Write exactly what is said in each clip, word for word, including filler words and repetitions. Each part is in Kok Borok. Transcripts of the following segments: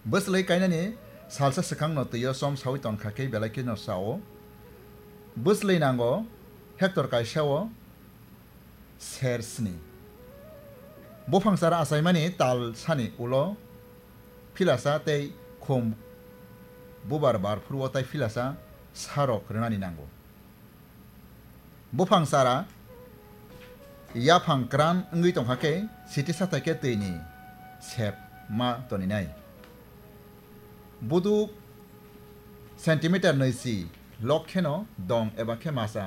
Bwslwi kainani salsa swkangno twio chom saui tongkha khe belai kheno chao. Bwslwi nango hectare kaisao ser sni. Buphang chara achaimani tal sani ulo philasa tei khum bubar bar phuru o tai philasa sarok rwnani nango. Buphang chara yaphang kran wngwi tongkha khe siti sathai khe twini sep ma toninai. Buduk centimeter nwichi lok kheno dong eba khe masa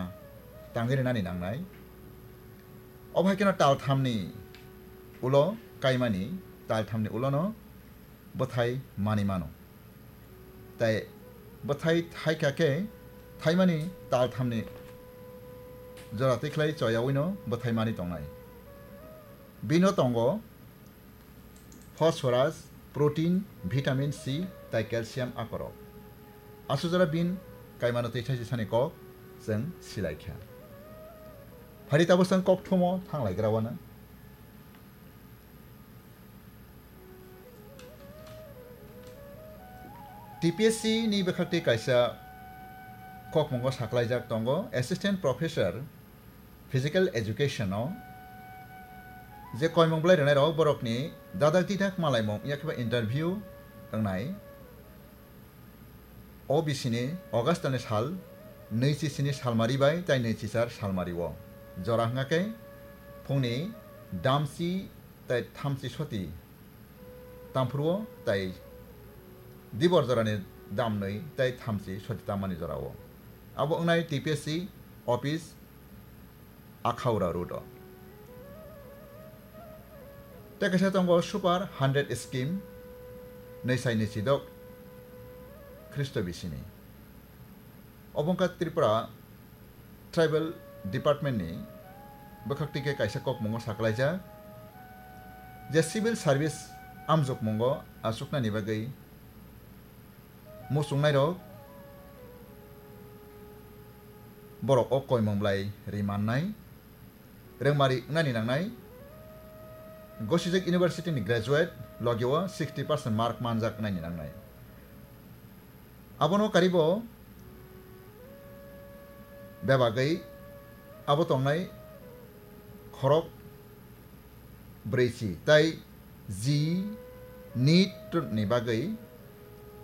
tangwi rwnani nangnai. Obo hai kheno tal thamni ulo kaimani, tal thamni ulono bwthai mani mano. Tai bwthai thaikha khe thaimani tal thamni jora twi khlai choyawino bwthai mani tongnai. Bino tongo phosphorus, protein, vitamin C tai calcium akorok. Aswk jora bin kaimano twi thaisi sani kok chwng silaikha. Phari tabuk chwng kokthumo thanglaigra uanw. T P S C ni bwkhak twi kaisa kokmungo saklaijak tongo, Assistant Professor Physical Education o je koimung belai rwnai rok borokni dadak didak malaimung yakhe ba interview wngnai. O B C ni August ni sal nwichi sini salmari bai tai nwichi char salmari o jora hwnkha khe phungni damchi tai thamchi soti tamphuru o tai dibor jorani damnwi tai thamchi soti tammani jora o. Abo wngnai T P S C office Akhaura Road o. Tei kaisa tongo Super Hundred Scheme nwi sai nwi chidok Khristo bisini. Obo wngkha Tripura Tribal Department ni bwkhak twi khe kaisa kokmungo saklaijak je civil service amjokmungo achuknani bagwi muchungnairok borok o koimung belai ri mannai, rwngmari wngnani nangnai, gosijak university ni graduate logi o sixty percent mark manjak wngnani nangnai. Abono karibo bebagwi abo tongnai khorok brwichi tai G NEET ni bagwi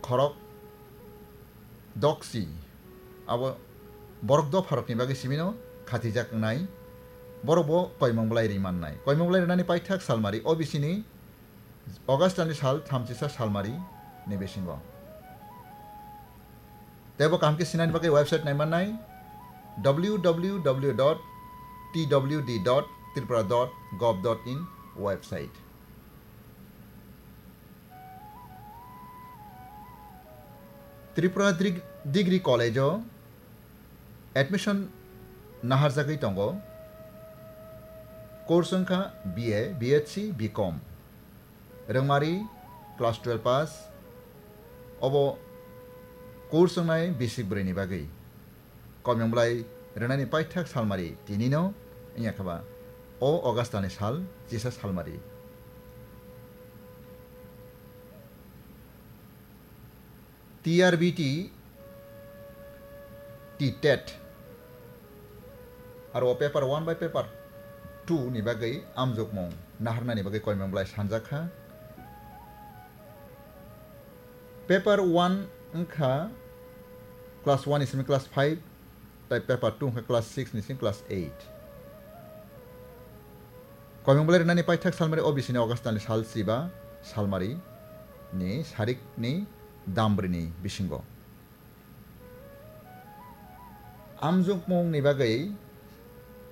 khorok doksi, abo borok dopharokni bagwi simino khatijak wngnai, borok bo koimung belai ri mannai. Koimung belai rwnani paithak salmari O B C ni August ni sal thamchisa salmari ni bisingo. Teibo kaham khe sinani bagwi website naimannai W W W dot T W D dot tripura dot gov dot in website. Tripura Drig-, Degree College o admission naharjagwi tongo. Course wngkha B A, B S C, B Com. Rwngmari class twelve pass. Obo course wngnai bisik bwrwini bagwi. Koimung belai rwnani paithak salmari tinino wngya khe ba o August ni sal chisa salmari. T R B T, T tet, aro paper one bai paper two ni bagwi amjokmung naharnani bagwi koimung belai sanjak kha. Paper one wngkha class one ni simi class five, tai paper two wngkha class six ni simi class eight. Koimung belai rwnani paithak salmari O B C ni August ni sal chiba salmari ni sarik ni dambri ni bisingo. Amjokmung ni bagwi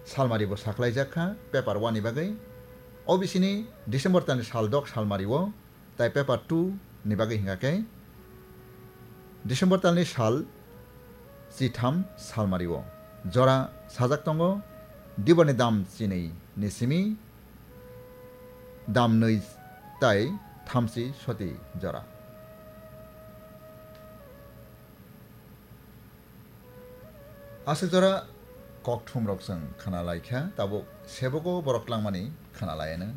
salmari bo saklaijak kha paper one ni bagwi. O B C ni December talni sal dok salmari o, tai paper two ni bagwi hingkha khe December talni sal chitham salmari o. Jora sajak tongo, diborni dam chinwi ni simi dam nwi tai thamchi soti jora. Aswk jora kokthumrok chwng khna lai kha, tabuk sebogo borok tlangmani khna lai anw.